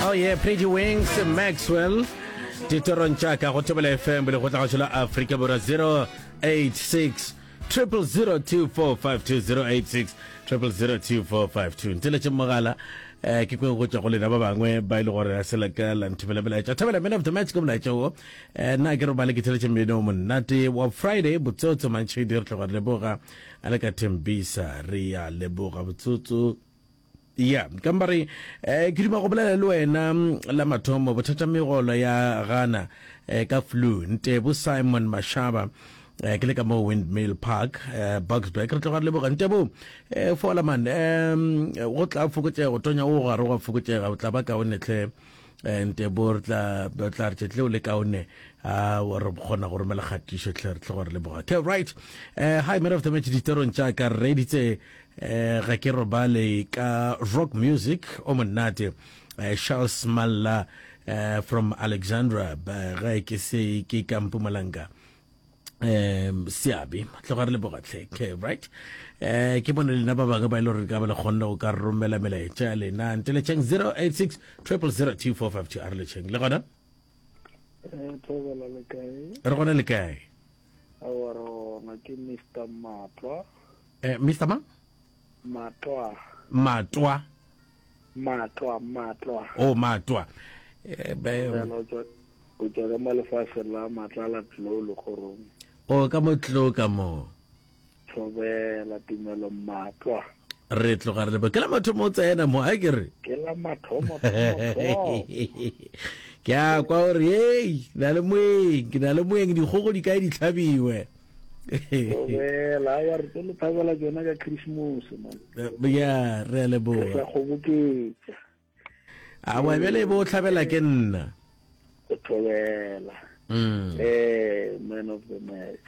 Oh yeah, Pretty Wings, Maxwell. Ditorong tša ka go Thobela FM lekgotlagašo la Afrika Borwa 086 0002452 086 0002452 nteletše mogala eh ke kwe go tšwa go lena ba bangwe ba ile e gore a se la ka la nthomela melaetša thabela man of the match ke molaetša wo eh nna ke robale ke theletše mmino o monate wa Friday botsotso mantšhedi re tloga re leboga a le ka Thembisa re ya leboga botsotso Ya, ka mpa re, eh, ke duma go bolela le wena mm, la mathomo, bothata megolo ya gana eh, ka flu. Ntebo Simon Mashaba, eh, ke le ka mo Windmill Park, eh, Boksburg. Re tloga re leboga Ntebo, eh, fola man, eh, go tla fokotšega, go tonya o gare go fokotšega, o tla ba kaone hle. Eh, Ntebo re tla re tla re tšetle o le kaone a re kgona go romela kgatišo hle re tloga re leboga. Okay, right. Eh, hi man of the match ditorong tša ka re reditse Eh, ga ke robale ka rock music o monate eh, Charles Malla eh, from Alexandra ga ke se ke ka Mpumalanga um seabe tloga re leboga tlhe okay right eh ke bone lena ba bangwe ba e le gore ka ba le kgonne go ka romela melaetša ya lena nteletšeng 086 000 2452 a re letšheng le gona eh, re gona le kae Aowa re gona ke Mister Matwa. Eh, Mister mang? Matwa. Matwa. Matwa, Matwa. Oh, Matwa. Eh, be, o tšwa ka mo lefaseng la Matlala Tlou Lekgorong. Oh, ka mo Tlou ka mo. Thobela tumelo Matwa. Re tloga re leboga. Ke la mathomo o tsena mo, a ke re? Ke la mathomo, thomo, Ke a kwa gore hei, ke na le moeng, ke na le moeng, dikgogo di kae di tlhabiwe. Thobela, aowa re tlo le thabela tšona ka Christmas man. Ya, re a leboga. Re tla kgoboketša. Aowa bjale bo tlhabela ke nna. Go thobela. Mm. Eh, man of the match.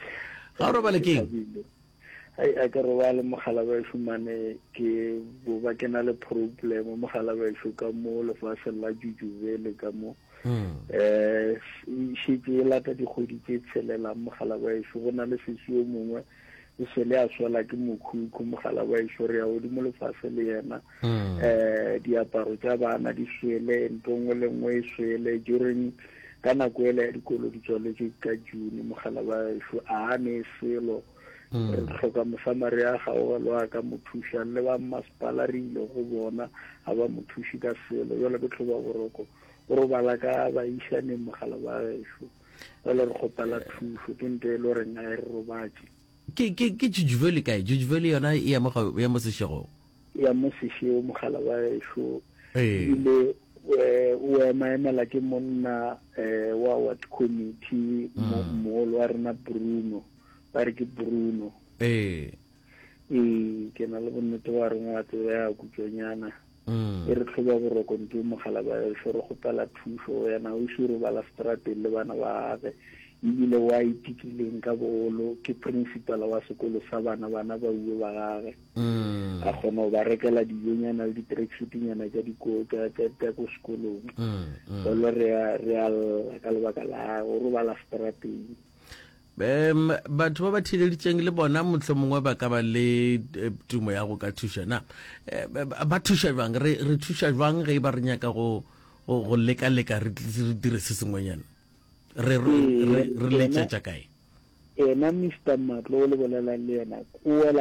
Ga o robale keng? Ai a ke robale mogala ba mane ke bo ba ke na le problem mogala ba ka mo lefatsheng la Jujubele ka mo. Mm. Eh, šetše e lata dikgwedi tše tshelelang mogala ba go na le sesi yo mongwe o sele a swela ke mokhukhu mogala wa ešo re ya godimo lefase le yena um diaparo tša bana di swele ntho nngwe le nngwe e swele during ka nako ele ya dikolo di tswaletše ka june mogala wa ešo a ne selo mm. re tlhoka mosamaria gaogelo a ka mo thušang le ba mmasepala re ile go bona ga ba mo thuše ka selo jale ke tlhoba boroko o robala ka baišaneng mogala wa gešo Jale re kgopela thušo, ke nto e le goreng a e re robatše. Ke, ke, ke Jujuveli kae? Jujuveli yona e ya mo, ya mo sešegong. Ya mo sešego, mogala wa gešo. Ebile eh, o ema emela ke monna eh, wa ward committee, mm. mogolo wa rena Bruno. Ba re ke Bruno. Ee. Ee, ke na le bonnete ba reng wa tseba ya kutšonyana. Mm. E re tlhoba boroko nto mogala ba ešo re kgopela thušo yena o se robala strateng le bana ba gage ebile wa itikileng ka bogolo ke principal wa sekolo sa bana bana ba uwe ba gage mm. a kgona go ba rekela dijonyana le di-tracksuitnyana tša diko tša ko sekolong mm, jalo re a lla ka lebaka la go robala strateng Um batho ba ba theeleditšeng le bona mohlomongwe ba ka ba le eh, tumo ya go ka thuša na eh, ba thuša bjang re re thuša bjang ge e ba re nyaka go go leka-leka re dire se sengwenyana re re re letšetša kae ena Mr Matlo o le bolelang le yena o wela.